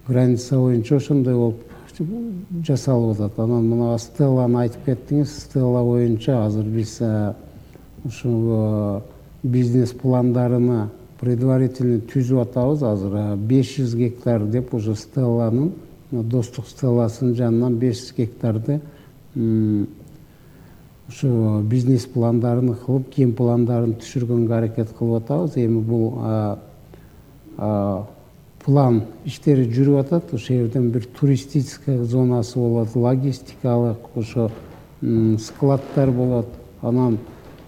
граница боюнча ошондой болуп жасалып атат. Анан мына Стелланы айтып кеттиңиз. Стелла боюнча азыр биз ушул бизнес пландарына предварительно түзүп атабыз. Азыр 500 гектар деп уже Стелланын, достук Стелласынын жанынан 500 гектарды ушу бизнес пландарын кылып, кен пландарын түшүргөнгө аракет кылып атабыз. Эми бул план иштери жүрүп атат. Ошол жерден бир туристическая зонасы болот, логистикалык ошо складдар болот. Анан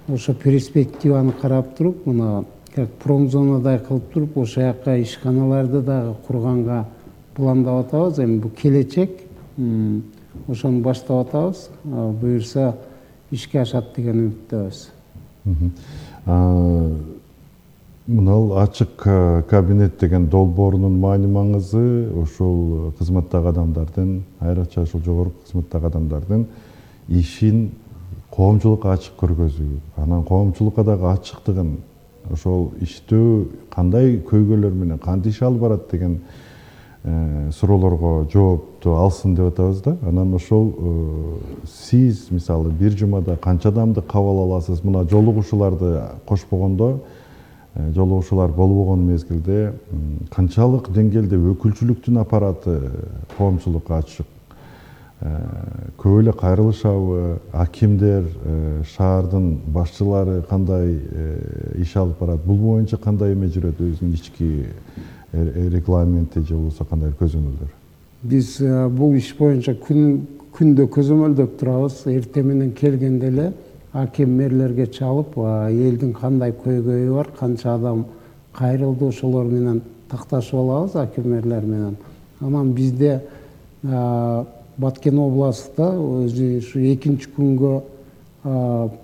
ошо перспективаны карап туруп, мына как промзонадай кылып туруп, ошол жака ишканаларды дагы курганга пландап атабыз. Эми бул келечек, ошону баштап атабыз. Буюрса ишке ашат деген үмүттөбүз. Мынал ачык кабинет деген долбоорунун маани маңызы ошол кызматтагы адамдардын, айрыкча ошол жогорку кызматтагы адамдардын ишин коомчулукка ачык көргөзүү, анан коомчулукка дагы ачыктыгын, ошол иштөө кандай көйгөйлөр менен кантип иш алып барат деген суроолорго жоопту алсын деп атабыз да. Анан ошол сиз мисалы бир жумада канча адамды кабыл аласыз? Мына жолугушууларды кошпогондо, жолугушуулар болбогон мезгилде канчалык деңгээлде өкүлчүлүктүн аппараты коомчулукка ачык? Көп эле кайрылышабы? Акимдер, шаардын башчылары кандай иш алып барат? Бул боюнча кандай эме жүрөт? Өзүнүн ички регламенти же болбосо кандай көзөмөлдөр? Биз бул иш боюнча күндө көзөмөлдөп турабыз. Эртең менен келгенде эле аким мэрлерге чалып, элдин кандай көйгөйү бар, канча адам кайрылды, ошолор менен такташып алабыз аким мэрлер менен. Анан бизде Баткен областында өзү ушу 2-нчи күнгө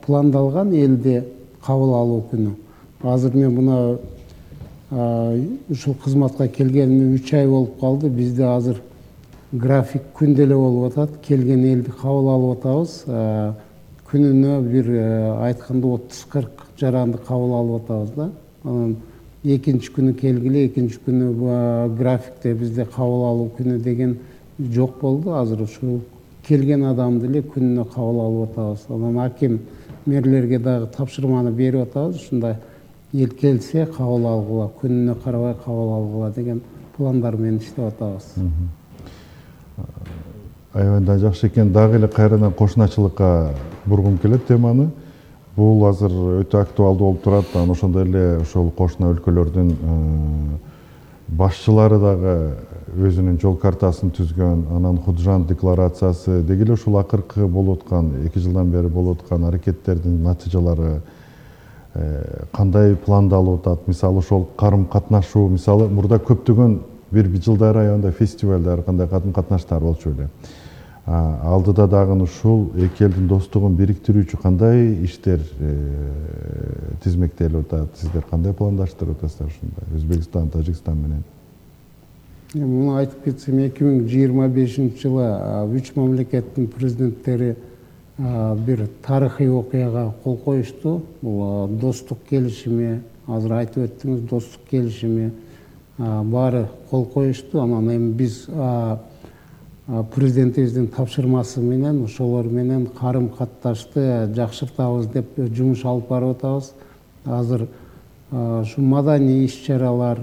пландалган элди кабыл алуу күнү. Азыр мен мына ушул кызматка келгениме 3 ай болуп калды. Бизде азыр график күндө эле болуп атат. Келген элди кабыл алып атабыз. Күнүнө бир айтканда 30-40 жаранды кабыл алып атабыз да. Анан 2-нчи күнү келгиле, 2-нчи күнү графикте бизде кабыл алуу күнү деген жок болду. Азыр ушул келген адамды эле күнүнө кабыл алып атабыз. Анан аким мэрлерге дагы тапшырманы берип атабыз. Ушундай эл келсе кабыл алгыла, күнүнө карабай кабыл алгыла деген пландар менен иштеп атабыз. Аябай жакшы экен. Дагы эле кайрадан кошуначылыкка бургум келет теманы. Бул азыр өтө актуалдуу болуп турат. Анан ошондой эле ошол кошуна өлкөлөрдүн башчылары дагы өзүнүн жол картасын түзгөн, анан Худжан декларациясы деги эле ушул акыркы болуп аткан 2 жылдан бери болуп аткан аракеттердин натыйжалары кандай пландалып атат? Мисалы ошол карым катнашуу, мисалы мурда көптөгөн бир жылдар аягында фестивалдар, кандай катым катнаштар болчу эле. Алдыда дагы ушул эки элдин достугун бириктирүүчү кандай иштер тизмектелип атат? Сиздер кандай пландаштырып атасыздар ушундай Өзбекстан, Тажикстан менен? Муну айтып кетсем, 2025-жылы 3 мамлекеттин президенттери бир тарыхый окуяга кол коюшту. Бул достук келишими, азыр айтып өттүңүз, достук келишими баары кол коюшту. Анан эми биз президентибиздин тапшырмасы менен ошолор менен карым катташты жакшыртабыз деп жумуш алып барып атабыз. Азыр ушу маданий иш-чаралар,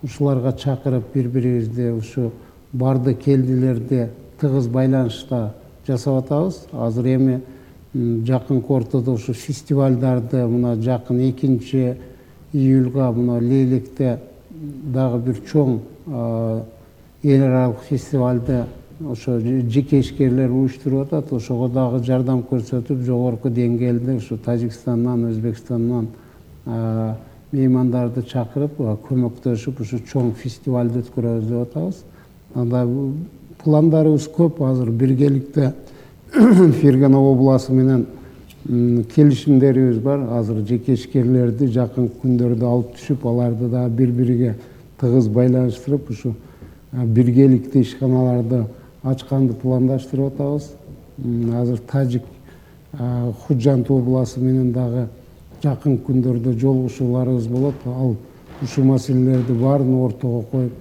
ушуларга чакырып бири-бирибизди ушу барды келдилерди тыгыз байланышта жасап атабыз. Азыр эми жакынкы ортодо ушу фестивалдарды, мына жакын 2-июлга мына Лейликте дагы бир чоң эл аралык фестивалды ошо жеке ишкерлер уюштуруп атат. Ошого дагы жардам көрсөтүп, жогорку деңгээлде ушу Тажикстандан, Өзбекстандан меймандарды чакырып, көмөктөшүп ушу чоң фестивалды өткөрөбүз деп атабыз. Анда пландарыбыз көп. Азыр биргеликте Фергана областы менен келишимдерибиз бар. Азыр жеке ишкерлерди жакын күндөрдө алып түшүп, аларды да бири-бириге тыгыз байланыштырып, ушу биргеликте ишканаларды ачканды пландаштырып атабыз. Азыр Тажик Худжанд областы менен дагы жакын күндөрдө жолугушууларыбыз болот. Ал ушул маселелерди баарын ортого коюп